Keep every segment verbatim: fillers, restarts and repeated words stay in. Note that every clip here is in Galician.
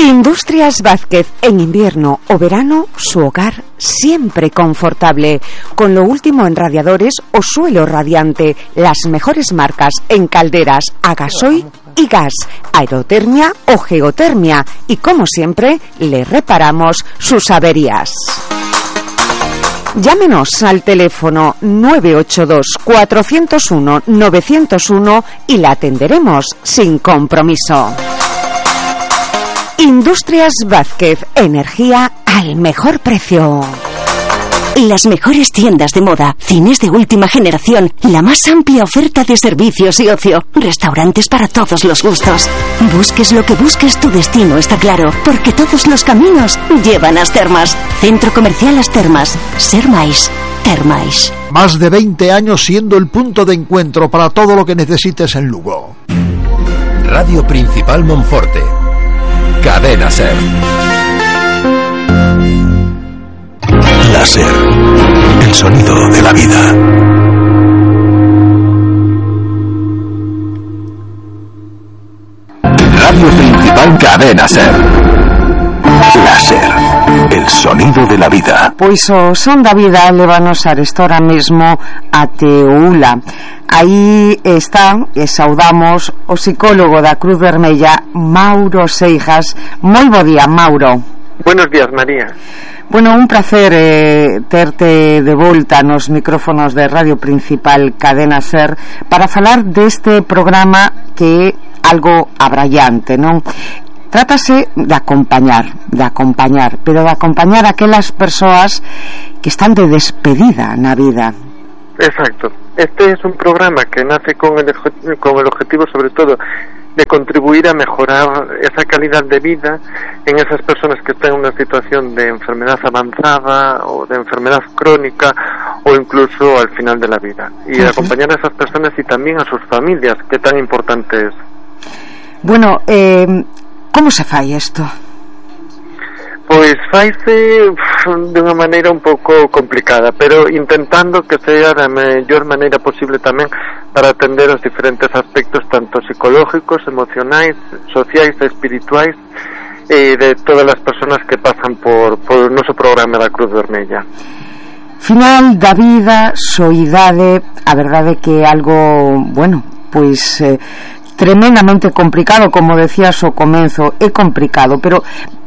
Industrias Vázquez, en invierno o verano, su hogar siempre confortable, con lo último en radiadores o suelo radiante, las mejores marcas en calderas a gasoil y gas, aerotermia o geotermia, y como siempre, le reparamos sus averías. Llámenos al teléfono nueve ocho dos, cuatro cero uno, nueve cero uno y la atenderemos sin compromiso. Industrias Vázquez, energía al mejor precio. Las mejores tiendas de moda, cines de última generación, la más amplia oferta de servicios y ocio, restaurantes para todos los gustos. Busques lo que busques, tu destino está claro, porque todos los caminos llevan a As Termas. Centro Comercial As Termas. Ser máis, ter máis. Más de veinte años siendo el punto de encuentro para todo lo que necesites en Lugo. Radio Principal Monforte. Cadena Ser. La Ser, el sonido de la vida. Radio Principal Cadena Ser. La Ser, el sonido de la vida. Pois o son da vida lévanos a ahora mesmo a Teula. Aí está, e saudamos o psicólogo da Cruz Vermella, Mauro Seijas. Moi bo día, Mauro. Buenos días, María. Bueno, un placer eh, terte de volta nos micrófonos de Radio Principal Cadena Ser para falar deste programa que é algo abrallante, non? Trátase de acompañar, de acompañar, pero de acompañar a aquelas persoas que están de despedida na vida. Exacto. Este es un programa que nace con el, con el objetivo, sobre todo, de contribuir a mejorar esa calidad de vida en esas personas que están en una situación de enfermedad avanzada o de enfermedad crónica o incluso al final de la vida, y uh-huh. acompañar a esas personas y también a sus familias, que tan importante es. Bueno, eh, ¿cómo se fai isto? Pois faise de unha maneira un pouco complicada, pero intentando que sea da mellor maneira posible tamén para atender os diferentes aspectos tanto psicológicos, emocionais, sociais e espirituais eh, de todas as persoas que pasan por, por o noso programa da Cruz Vermella. Final da vida, soidade, a verdade que é algo, bueno, pois eh, tremendamente complicado, como decías ao comezo, é complicado, pero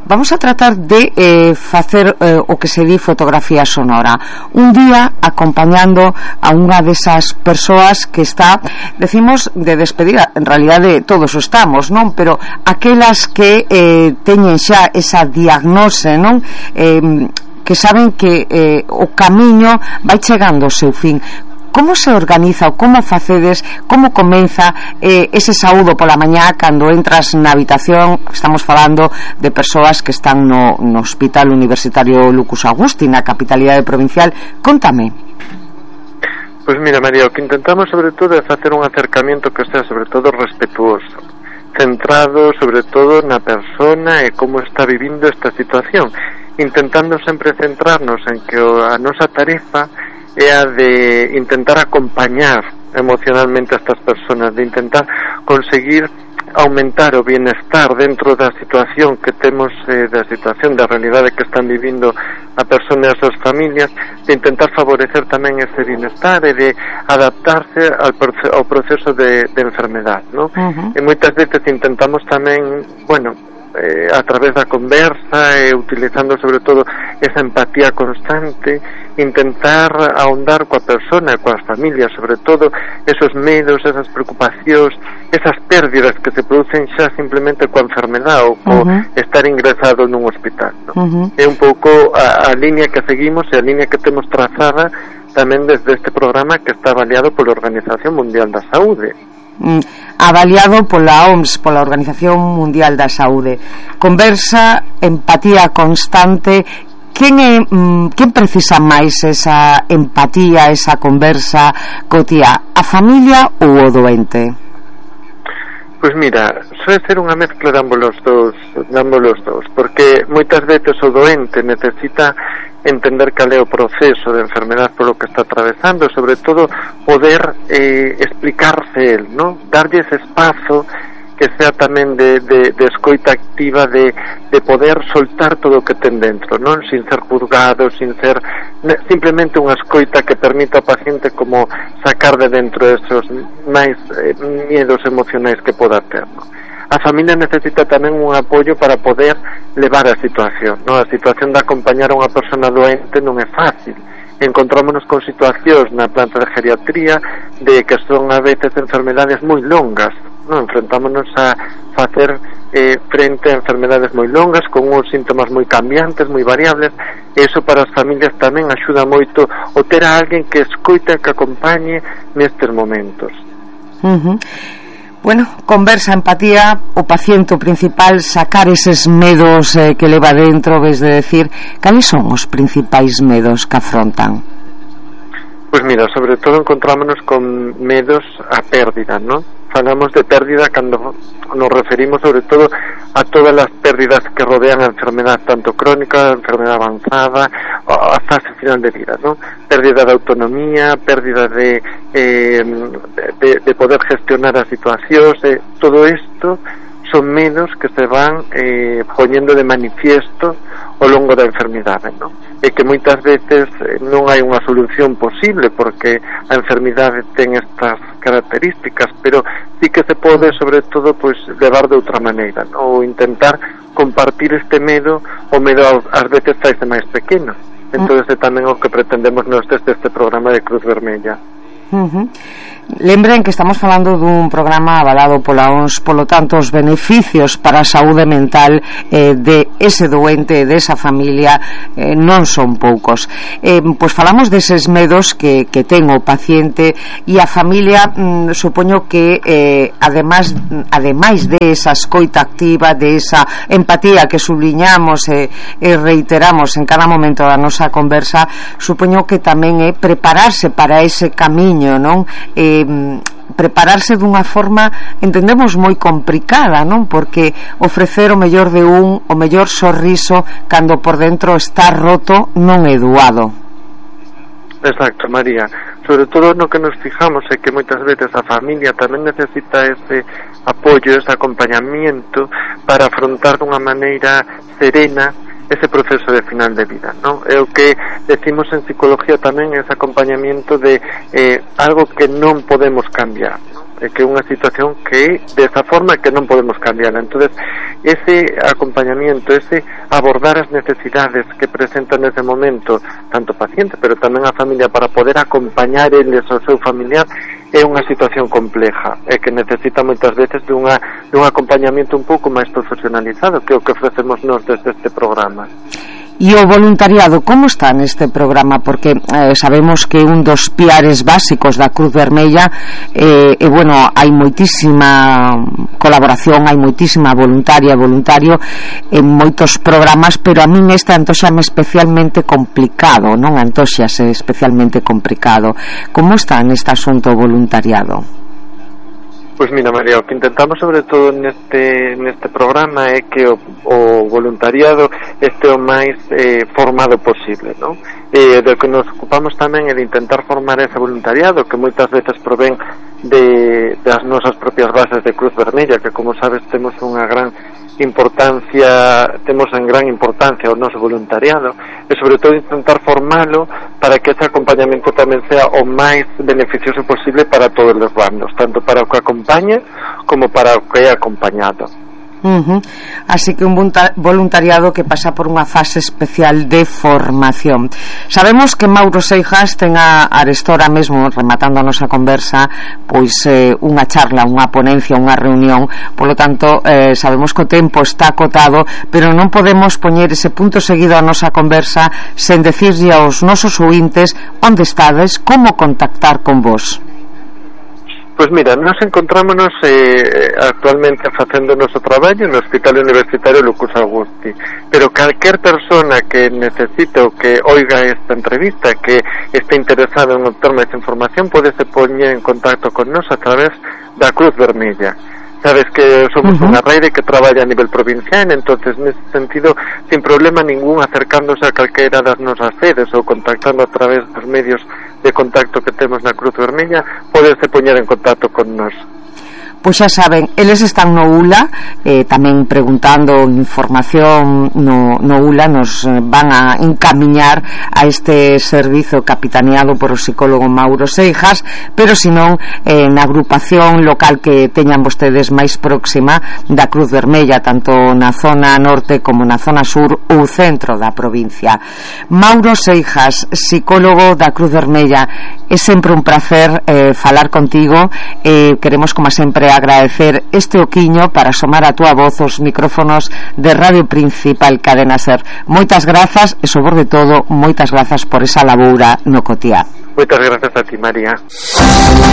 vamos a tratar de eh, facer eh, o que se di fotografía sonora. Un día acompañando a unha desas persoas que está, decimos, de despedida, en realidade todos estamos, non? Pero aquelas que eh, teñen xa esa diagnose, non? Eh, que saben que eh, o camiño vai chegando ao seu fin. Como se organiza ou como facedes, como comeza eh, ese saúdo pola mañá cando entras na habitación? Estamos falando de persoas que están no, no Hospital Universitario Lucus Augusti, na capitalidade provincial. Contame. Pois mira, María, o que intentamos sobre todo é facer un acercamiento que sea sobre todo respetuoso, centrado sobre todo na persona e como está vivindo esta situación, intentando sempre centrarnos en que a nosa tarefa é a de intentar acompañar emocionalmente a estas personas, de intentar conseguir aumentar o bienestar dentro da situación que temos, eh, da situación da realidade que están vivindo a persoas e as súas familias, de intentar favorecer tamén ese bienestar e de adaptarse ao, proce- ao proceso de, de enfermedad, ¿no? Uh-huh. E moitas veces intentamos tamén, bueno, Eh, a través da conversa e eh, utilizando sobre todo esa empatía constante, intentar ahondar coa persona e coas familias, sobre todo esos medos, esas preocupacións, esas pérdidas que se producen xa simplemente coa enfermedade ou co uh-huh. estar ingresado nun hospital, ¿no? Uh-huh. É un pouco a, a línea que seguimos e a línea que temos trazada tamén desde este programa que está avaliado pola Organización Mundial da Saúde. Mm, avaliado pola O M S, pola Organización Mundial da Saúde. Conversa, empatía constante. Quen é, mm, quen precisa máis esa empatía, esa conversa cotía? A familia ou o doente? Pois mira, suele ser unha mezcla de ambos os dous, de ambos os dous, porque moitas veces o doente necesita entender cal é o proceso de enfermedade polo que está atravesando, sobre todo poder eh, explicarse el, ¿no? Darlle ese espazo que sea tamén de, de, de escoita activa, de, de de poder soltar todo o que ten dentro, non? Sin ser juzgado, sin ser simplemente unha escoita que permita ao paciente como sacar de dentro esos máis eh, miedos emocionais que poda ter, non? A familia necesita tamén un apoio para poder levar a situación, non? A situación de acompañar a unha persona doente non é fácil. Encontrámonos con situacións na planta de geriatría de que son a veces enfermedades moi longas, non? Enfrentámonos a facer eh, frente a enfermedades moi longas con uns síntomas moi cambiantes, moi variables, e iso para as familias tamén axuda moito o ter a alguén que escoita, que acompañe nestes momentos. Uh-huh. Bueno, conversa, empatía, o paciente o principal, sacar eses medos eh, que leva dentro, ves de decir, cales son os principais medos que afrontan? Pois mira, sobre todo encontrámonos con medos a pérdida, non? Falamos de pérdida cando nos referimos sobre todo a todas as pérdidas que rodean a enfermedade tanto crónica, a enfermedade avanzada, a fase final de vida, non? Pérdida de autonomía, pérdida de, eh, de, de poder gestionar as situacións, eh, todo isto son medos que se van eh, poñendo de manifiesto ao longo da enfermidade, non? E que moitas veces eh, non hai unha solución posible porque a enfermidade ten estas características, pero sí que se pode, sobre todo, pois levar de outra maneira, non? Ou intentar compartir este medo, o medo ás veces faise máis pequeno. Entón, é tamén o que pretendemos nós desde este programa de Cruz Vermella. Uh-huh. Lembren que estamos falando dun programa avalado pola O N S, polo tanto os beneficios para a saúde mental eh, de ese doente, de esa familia, eh, non son poucos. Eh, pois falamos deses medos que, que ten o paciente e a familia, mm, supoño que eh, además, ademais de esa escoita activa, de esa empatía que subliñamos e eh, eh, reiteramos en cada momento da nosa conversa, supoño que tamén é prepararse para ese camiño, non? Eh, prepararse dunha forma, entendemos, moi complicada, non? Porque ofrecer o mellor de un, o mellor sorriso cando por dentro está roto non é doado. Exacto, María. Sobre todo no que nos fijamos é que moitas veces a familia tamén necesita ese apoio, ese acompañamiento para afrontar dunha maneira serena ese proceso de final de vida, ¿no? É o que decimos en psicología tamén, ese acompañamiento de eh, algo que non podemos cambiar, ¿no? É que é unha situación que de esa forma que non podemos cambiar. Entonces, ese acompañamiento, ese abordar as necesidades que presentan nese momento tanto o paciente, pero tamén a familia, para poder acompañar eles ao seu familiar, é unha situación compleja e que necesita moitas veces de unha, de un acompañamiento un pouco máis profesionalizado, que é o que ofrecemos nós desde este programa. E o voluntariado, como está neste programa? Porque eh, sabemos que un dos piares básicos da Cruz Vermella eh, e, bueno, hai moitísima colaboración, hai moitísima voluntaria, voluntario en moitos programas, pero a min este antóxame especialmente complicado, non? Antóxase especialmente complicado. Como está neste asunto o voluntariado? Pois mira, María, o que intentamos sobre todo neste neste programa é que o, o voluntariado este o máis eh, formado posible, non? E do que nos ocupamos tamén é de intentar formar ese voluntariado que moitas veces provén de das nosas propias bases de Cruz Vermella, que como sabes temos unha gran importancia, temos en gran importancia o noso voluntariado, e sobre todo intentar formalo para que ese acompañamento tamén sea o máis beneficioso posible para todos os bandos, tanto para o que acompaña como para o que é acompañado. Uh-huh. Así que un voluntariado que pasa por unha fase especial de formación. Sabemos que Mauro Seijas ten a arestora mesmo, rematando a nosa conversa, pois eh, unha charla, unha ponencia, unha reunión. Polo tanto, eh, sabemos que o tempo está acotado, pero non podemos poñer ese punto seguido a nosa conversa sen decirlle aos nosos ointes onde estades, como contactar con vos. Pois mira, nos encontrámonos eh, actualmente facendo o noso traballo no Hospital Universitario Lucus Augusti, pero calquer persona que necesite ou que oiga esta entrevista, que este interesado en obter máis información, pode se poñer en contacto con nos a través da Cruz Vermella. Sabes que somos uh-huh. unha rede que traballa a nivel provincial, entonces nesse sentido, sin problema ningún, acercándose a calquera das nosas sedes ou contactando a través dos medios de contacto que temos na Cruz Vermella, poderse poñer en contacto con nos. Pois xa saben, eles están no U L A, eh, tamén preguntando información no, no U L A, nos van a encamiñar a este servizo capitaneado por o psicólogo Mauro Seijas, pero senón eh, na agrupación local que teñan vostedes máis próxima da Cruz Vermella, tanto na zona norte como na zona sur ou centro da provincia. Mauro Seijas, psicólogo da Cruz Vermella, é sempre un placer eh, falar contigo. Eh, queremos, como sempre, agradecer este oquiño para asomar a túa voz os micrófonos de Radio Principal Cadena Ser. Moitas grazas e, sobre todo, moitas grazas por esa laboura no cotiá. Moitas grazas a ti, María.